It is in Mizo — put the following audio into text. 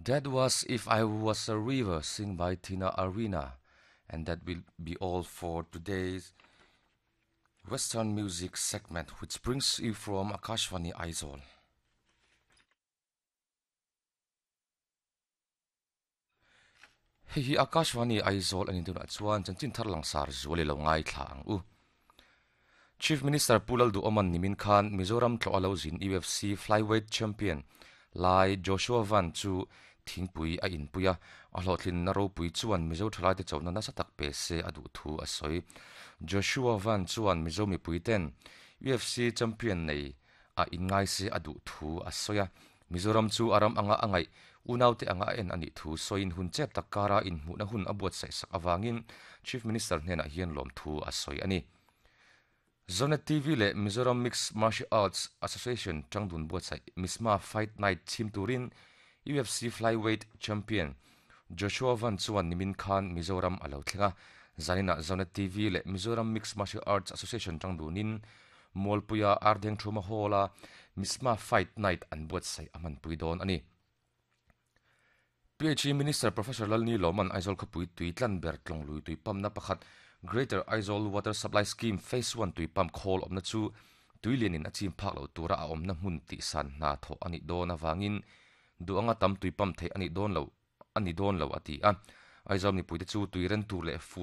That was If I Was a River sing by Tina Arena and that will be all for today's Western music segment which brings you from Akashvani Aizawl. Hei hi Akashvani Aizawl anin tunah chuan chanchin thar langsar zual i lo ngaithla ang u. Chief Minister Pu Lalduhoman nimin khan Mizoram tlawh a lo zin UFC Flyweight Champion lai Joshua Van chu thingpui a inpui a, a hlawhtlinna ropui chuan Mizo thalaite chona nasa tak pe se a duh thu a sawi. Joshua Van chuan Mizo mipuiten UFC champion nei a inngai se a duh thu a sawi a, Mizoram chu a ram anga a ngaih unaute anga a en a nih thu sawiin hun chep tak kara inhmuhna hun a buatsaih sak avangin Chief Minister hnenah hian lawmthu a sawi a ni. Zonet TV leh Mizoram Mixed Martial Arts Association tangdun buatsaih Misma Fight Night chhim turin UFC Flyweight Champion Joshua Van chuan nimin khan Mizoram a lo thleng a. Zaninah Zonet TV leh Mizoram Mixed Martial Arts Association tangdunin Mualpuia Ardengthuma Hall-a Misma Fight Night an buatsaih a hmanpui dawn a ni. PHE Minister Professor Lalni Lawman Aizawl khawpui tui tlan ber tlawnglui tui pump-na pakhat Greater Aizawl Water Supply Scheme Phase One tui pump khawl awmna chu tui lianin a chim phak loh tura a awmna hmun tihsan hna thawh a nih dawn avangin duh anga tam tui pump theih a nih dawn loh a ni dawn lo a ti a. Aizawl mipuite chu tui ren tur leh fur.